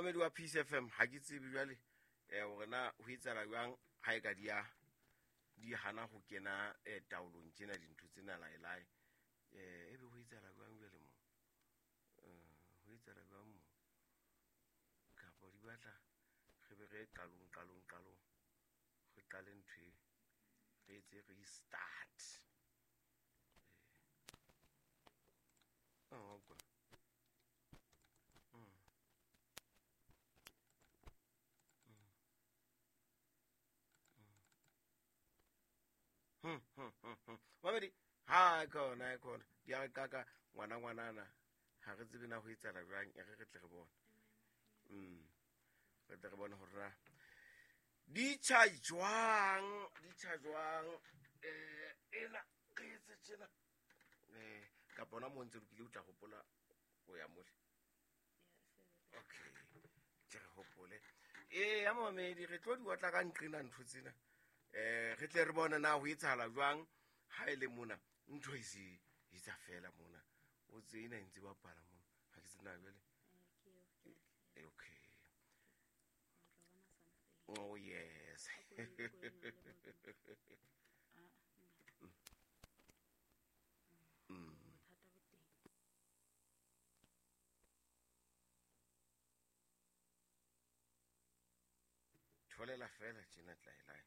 Mamedi wa Peace FM, ha ke tsebe jwale hore na ho etsahala jwang ha e ka di a di hana ho kena taolong tjena dintho tsena laelae. Ebe ho etsahala jwang jwale mo? Ho etsahala jwang mo? Kapa di batla re be re qalong qalong qalong. Re qale ntho e re etse restart. Oh, okay. Mamedi, ha khona khona. Di a kaka ngwana ngwanana. Ha re tsebe na ho etsahala jwang, e re re tle re bone. Re tle re bone hore na di tjha jwang, di tjha jwang. Ena re etse tjena. Kapa hona moo ntse lokile o tla hopola ho ya mole. Okay, ke re hopole. Ya mamedi, re tlo di otla ka nqena ntho tsena. Re tle re bone na ho etsahala jwang ha e le mona ntho e se etsa fela mona. O tse ena e ntse bapala mona. Ha ke tsena jwale. Okay. Oh yes. Tholela fela tjena tlaelae.